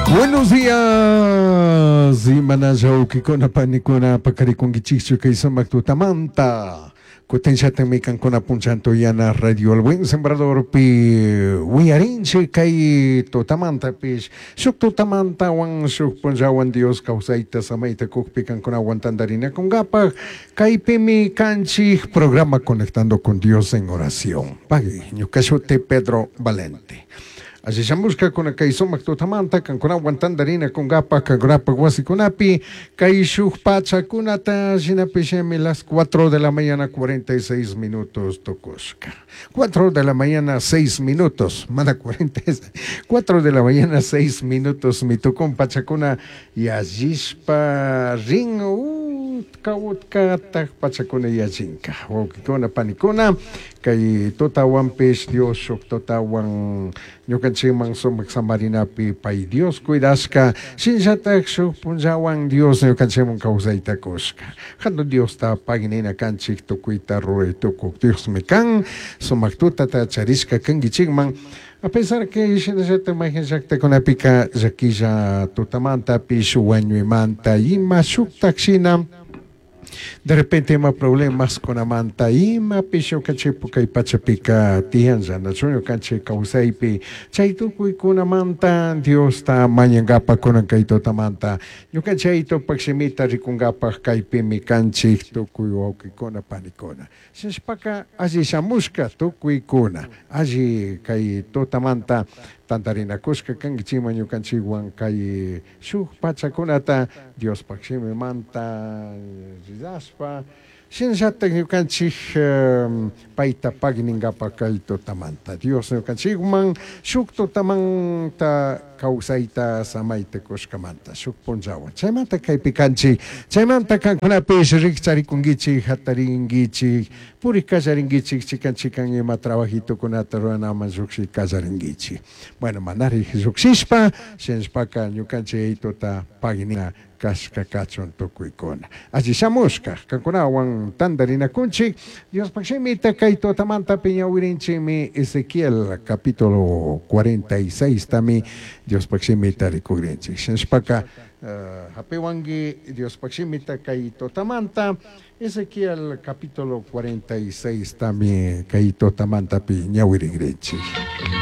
Buenos días, imanalla wawkikuna panikuna pakarikunkichikchu kay sumak tutamanta. Kutinllatakmi kankuna punchanto yana Radio El Buen Sembradorpi wiyarinchik kay tutamantapish shuk tutamantawan shuk punllawan Dios kawsayta samayta kukpi kankunawan tantarinakunkapak kaypimi kanchik programa Conectando con Dios en Oración. Pagui, ñuka shuti Pedro Valente. Alli shamushkakuna kay sumak tutamanta kankunawan tantarinakunkapak kankunapak wasikunapi kay shuk pachakunata shinapishmi las 4 de la mañana 46 minutos tukushka. 4 de la mañana 6 minutos, mana 40, 4 de la mañana 6 minutos mitukun pachakuna yallishpa rin utka utkatak pachakuna yallinka. Wawkikuna panikuna kay tutawanpish Dios shuk tutawan ñukanchikman sumak samarinapi pay Dios cuidashka shinallatak shuk punllawan Dios ñukanchikman kawsayta kushka. Hatun Diosta paginina kanchik tukuyta ruray tukuk Diosmi kan sumak tutata charishka kankichikman. A pesar que shinallatak mayqin llaktakunapika llakilla tutamantapish wañuymanta ima shuktak shina de repente ima problemas kunamanta imapish ñukanchikpu kay pachapika tiyanlla nachu ñukanchik kawsaypi chay tukuykunamanta Diosta mañankapak kunan kay tutamanta ñukanchik tupak shimita rikunkapak kaypimi kanchik tukuy wawkikuna panikuna shinashpaka alli shamushka tukuykuna alli kay tutamanta tantarinakushka kankichikman ñukanchikwan kay shuk pachakunata Diospak shimimanta ridashpa shinallatak ñukanchik payta pagninkapak kay tutamanta Dios ñukanchikman shuk tutamanta kawsayta samayta kushkamanta shuk punllawan chaymanta kaypi kanchik chaymanta kankunapish rikcharikunkichik hatarinkichik purik kallarinkichik chikan chikan ima trabajitukunata ruranaman llukshi kallarinkichik. Bueno, manarik llukshishpa shinashpaka ñukanchik tuta paginina kashka kachun tukuykuna. Alli shamushka kankunawan tantarinakunchik Diospak shimita kay tutamanta piñawirinchikmi Ezequiel capítulo 46 tami Diospak shimita rikugrinchik. Shinashpaka hapiwanki Diospak shimita kay tutamanta Ezequiel capítulo 46 tami kay tutamanta piñawirigrinchik.